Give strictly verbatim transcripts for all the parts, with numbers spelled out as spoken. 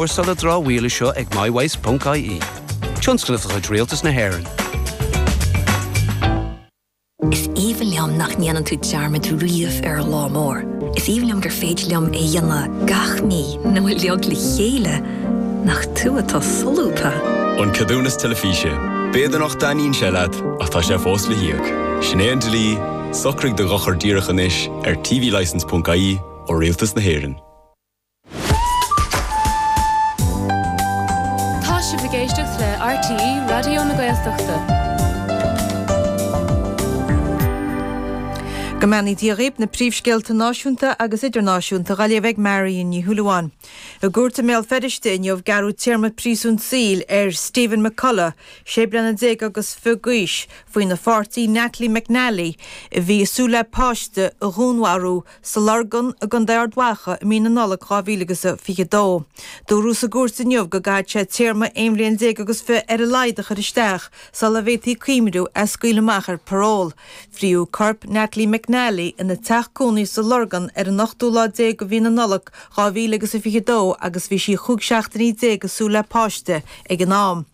Cúrsála dramhaíola seo ag mywaste.ie. Tionscnamh de chuid Rialtas na hÉireann. Is aoibhinn liom nach ndéanann tú dearmad riamh ar lá mór. Is aoibhinn liom gur féidir liom é dhéanamh gach mí nó uilig le chéile nach tú atá solúbtha. An ceadúnas teilifíse. B'fhéidir nach dtaitníonn sé leat ach tá sé fós le híoc. Sin é an dlí, socraigh do dhochar díreach anois ar tvlicence.ie ó Rialtas na hÉireann. Tá sibh ag éisteacht le RTÉ Raidió na Gaeltachta. Go mbeannaí Dia dhaoibh na príomhscéalta náisiúnta agus idirnáisiúnta á léamh ag Marion Ní Shúilleabháin. I gcúirt i mBéal Feirste inniu gearradh téarma príosúin saoil ar Stephen McCullough, sé bliana déag agus fiche d'aois, faoina pháirtí Natalie McNally, a bhí ag súil le páiste a dhúnmharú sa Lorgain i gContae Ard Mhacha i mí na Nollag dhá mhíle agus a fiche dó. Dúradh sa gcúirt inniu go gcaithfidh sé téarma aon bhliain déag agus fiche ar a laghad a chur isteach sula bhféadfaí cuimhniú é a scaoileadh amach ar paról. Fríodh corp Natalie McNally ina teach cónaí sa Lorgain ar an ochtú lá déag de mhí na Nollag dhá mhíle agus a fiche dó agus bhí sí chúig seachtainí déag ag súil le páiste ag an am.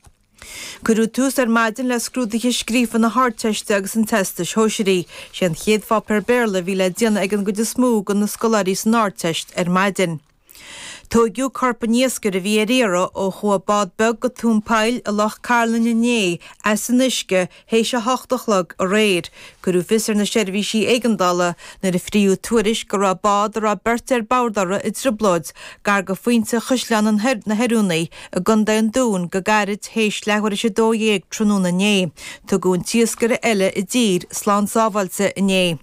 Cuireadh tús ar maidin le scrúduithe scríofa na hArdteiste agus an Teastais Shóisearaigh. Sé an chéad pháipéar Béarla a bhí le déanamh ag an gcuid is mó de na scoláirí san Ardteist ar maidin. Tóigeadh corp an iascaire a bhí ar iarraidh ó chuaigh bád beag go tóin poill i Loch Cairlinn inné as an uisce théis a hocht a chlog aréir. Cuireadh fios ar na seirbhísí éigeandála nuair a fríodh tuairisc go raibh bád a raibh beirt ar bord uirthi i dtrioblóid gar go phointe Chaisleán na hOiriúnaí i gContae an Dúin go gairid théis leathuair théis a dó dhéag tráthnóna inné. Tugadh an t-iascaire eile i dtír slán sábháilte inné.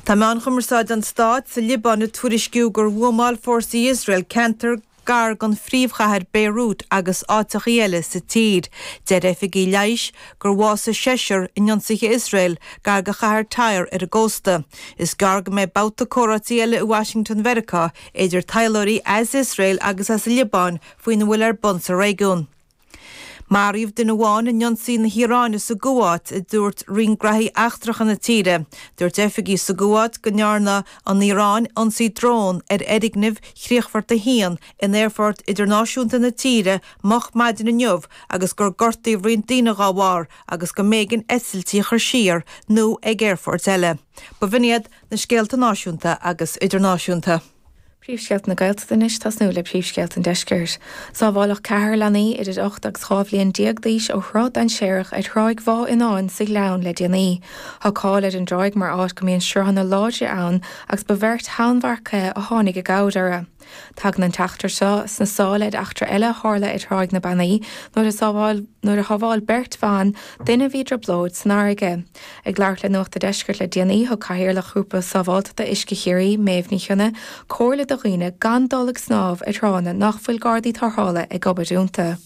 Tá meáin chumarsáide an stáit sa Liobáin ag tuairisciú gur bhuamáil fórsaí Iosrael ceantar gar don phríomhchathair Beirut agus áiteachaí eile sa tír. Deir oifigigh leighis gur bhásaigh seisear in ionsaithe Iosrael gar do chathair Tyre ar an gcósta. Is gearr go mbeidh babhta comhráití eile i Washington Mheiriceá idir taidhleoirí as Iosrael agus as an Liobáin faoina bhfuil ar bun sa réigiún. Maraíodh duine amháin in ionsaí na hIaráine sa gCuáit, a dúirt Roinn Gnóthaí Eachtracha na tíre. Dúirt oifigigh sa gCuáit go ndearna an Iaráin ionsaí drón ar fhoirgneamh Chríochfort a haon in aerfort idirnáisiúnta na tíre moch maidin inniu agus gur gortaíodh roinnt daoine dá bharr agus go mb'éigean eitiltí a chur siar nó ag aerfoirt eile. Ba bh'in iad na scéalta náisiúnta agus idirnáisiúnta. Príomhscéalta na Gaeltachta anois tosnú le príomhscéalta an deiscirt. Sábháladh ceathrar leanaí idir ocht agus dhá bhliain déag d'aois ó shruth dainséarach ar thráigh Bhá Fhionáin sa Ghleann le déanaí. Tá cáil ar an dtráigh mar áit go mbíonn sruthanna láidre ann agus ba bheirt tonnmharcaithe a tháinig i gcabhair orthu. Tagann an t-eachtra seo sna sála ar eachtra eile a tharla ar Thráigh na Bannaí nuair a sábháil nuair a shábháil beirt bhan duine a bhí i dtrioblóid san fharraige. Ag labhairt le Nuacht an Deiscirt le déanaí, thug Cathaoirleach Ghrúpa Sábháilteachta Uisce Chiarraí, Méabh Ní Chionnaith, comhairle do dhaoine gan dul ag snámh ar thránna nach bhfuil gardaí tarrthála ag obair iontu.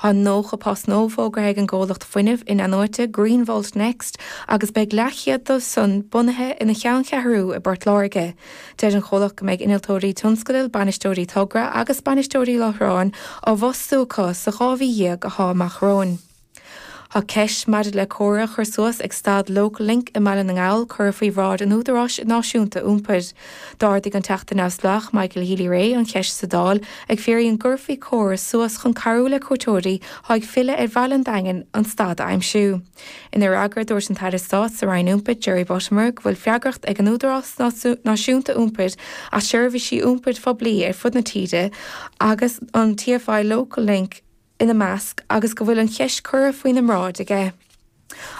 Tá nócha post nua fógartha ag an gcomhlacht fuinnimh in-athnuaite Greenvolt Next agus beidh leathchéad dóibh san bunaithe ina cheanncheathrú i bPort Láirge. Deir an chomhlacht go mbeidh innealtóirí tionscadail, bainisteoirí togra agus bainisteoirí láithreáin á bhfostú acu sa dhá mhí dhéag atá amach romhainn. Tá ceist maidir le comhartha a chur suas ag stad Local Link i mBaile na nGall curtha faoi bhráid an Údaráis Náisiúnta Iompair. D'ardaigh an Teachta Neamhspleách Michael Healy-Rae an cheist sa Dáil ag fiafraí an gcuirfí comhartha suas chun cabhrú le cuairteoirí atá ag filleadh ar Bhaile an Daingin an stad a aimsiú. Ina fhreagra dúirt an tAire Stáit sa Roinn Iompair Jerry Buttimer go bhfuil freagracht ag an Údarás Náisiúnta Iompair as seirbhísí iompair phoiblí ar fud na tíre agus an TFI Local Link ina measc agus go bhfuil an cheist curtha faoina mbráid aige.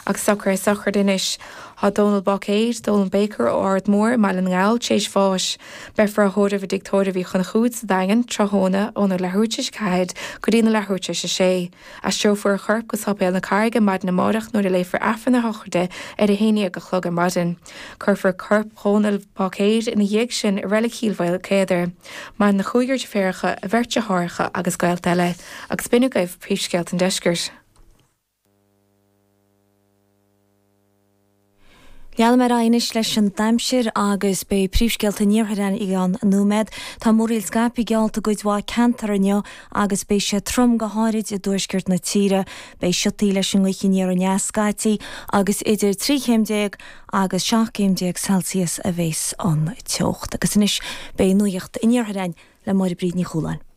Agus socruithe sochraide anois. Tá Dónal Báicéid, Dónal Baker ó Ard Mór i mBaile na nGall tar éis bháis. Beifear á thórramh i dTigh Tórraimh Uí Chonchúir sa Daingean tráthnóna óna leathuair tar éis a ceathair go dtí na leathuair tar éis a sé. Aistreofar a chorp go Sáipéal na Carraige maidin amárach nuair a léifear Aifreann a shochraide ar a haon déag a chlog ar maidin. Cuirfear corp Dhónail Bháicéid ina dhiaidh sin i Reilig Chill Mhaoilchéadair. Maireann a chúigear deirféaracha, a bheirt deartháireacha agus gaolta eile. Agus b'in agaibh príomhscéalta an deiscirt. Leanfaimid ar aghaidh anois leis an aimsir agus beidh príomhscéalta an iarthair i gceann nóiméad. Tá múraíl scaipthe geallta i gcuid mhaith ceantar inniu agus beidh sé trom go háirid i dtuaisceart na tíre. Beidh siotaí leis an ngaoth aniar aneas scaití agus idir trí chéim déag agus seacht gcéim déag Celsius a bheas an teocht. Agus anois beidh nuacht an iarthair le Máire Bríd Ní Chualáin.